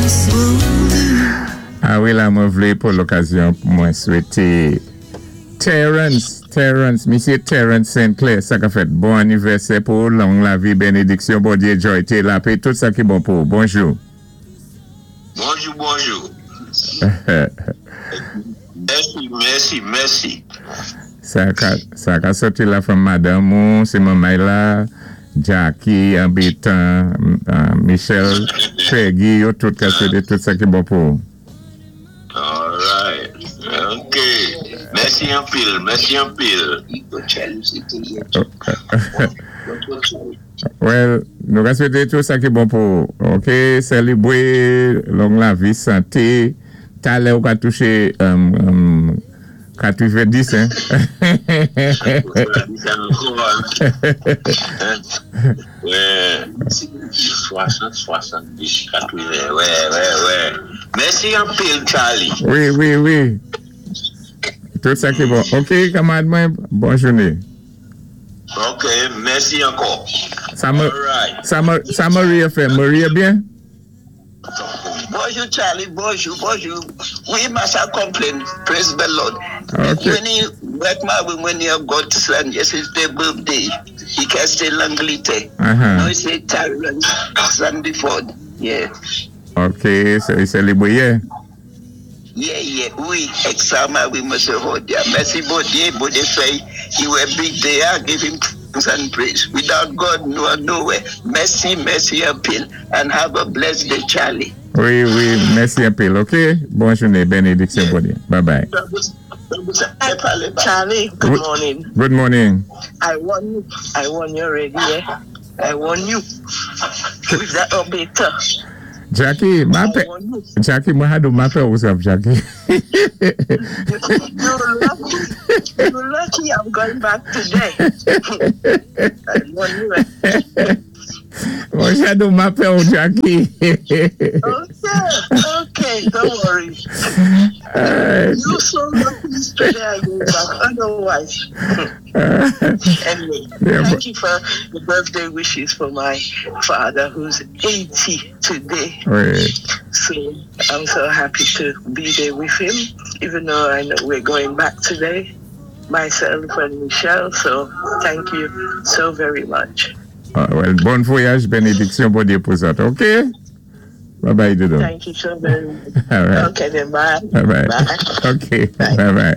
This will do. A wi, la mwen vlé pou lokazyon pou mwen swété Terence, Terence, Misyé Terence St. Clair, sa ka fèt, bon anivèsè pou ou, long lavi, bénédiksyon Bondyé, jòyté, lapé, tout sa ki bon pou ou. Bonjou. Bonjou, bonjou. Mèsi, mèsi, mèsi. Sa ka sòti la fanm madanm ou, sé manmay la, Jackie, anbétan, Michel, Peggy, yo tout ka swété tout sa ki bon pou ou. Alright. Ok. Mèsi anpil, mèsi anpil. Well, nou ka swété tout sa ki bon pou ou. Ok, sélébwé long lavi, santé, talè ou ka touché 90, hein? Wè, 60, 70, 80, wè, wè, wè. Mèsi anpil, Charlie. Wi, wi, wi. Tout sa ki bon. Ok, kanmarad mwen, bon jouné. Ok, mèsi ankò. Sa, sa, sa Maria fè? Maria byen? Bonjou, Charlie. Bonjou, bonjou. Wi, must complain. Praise the Lord. Ok. When he work my when he godson, yes, it's their birthday. He can stay Langletè. No, it's a Tyrone Sandyford. Yeah. Ok, sé sélébwé yè. Yeah, wi, egzaktéman, wi, Mesye Hodia. Mèsi, Bondyé, Bondyé fè, he were big day, I give him thanks and praise. Without God, no nowhere. Mèsi, mèsi anpil, and have a blessed day, Charlie. Wi, mèsi anpil, ok? Bon jouné, bénédiksyon, Bondyé. Bye bye. Charlie, good morning. Good morning. I warn you. I warn you already, yeah. I warn you. With that update. Jackie, ma pè, Jackie, mwen had ma pè ou saf, Jackie. You're lucky. You're lucky I'm going back today. I warn you. Mwen had ma pè ou, Jackie. Okay, don't worry. You so lucky today I go back. Otherwise. Anyway, thank you for the birthday wishes for my father, who's 80 today. Wi. So I'm so happy to be there with him, even though I know we're going back today, myself and Michelle. So thank you so very much. Ah, well, bon vwayaj, bénédiksyon, Bondyé pou zòt, ok? Bye bye, Dodo. Thank you so very much. All right. Okay, then bye. Bye bye. Bye. Ok, bye bye.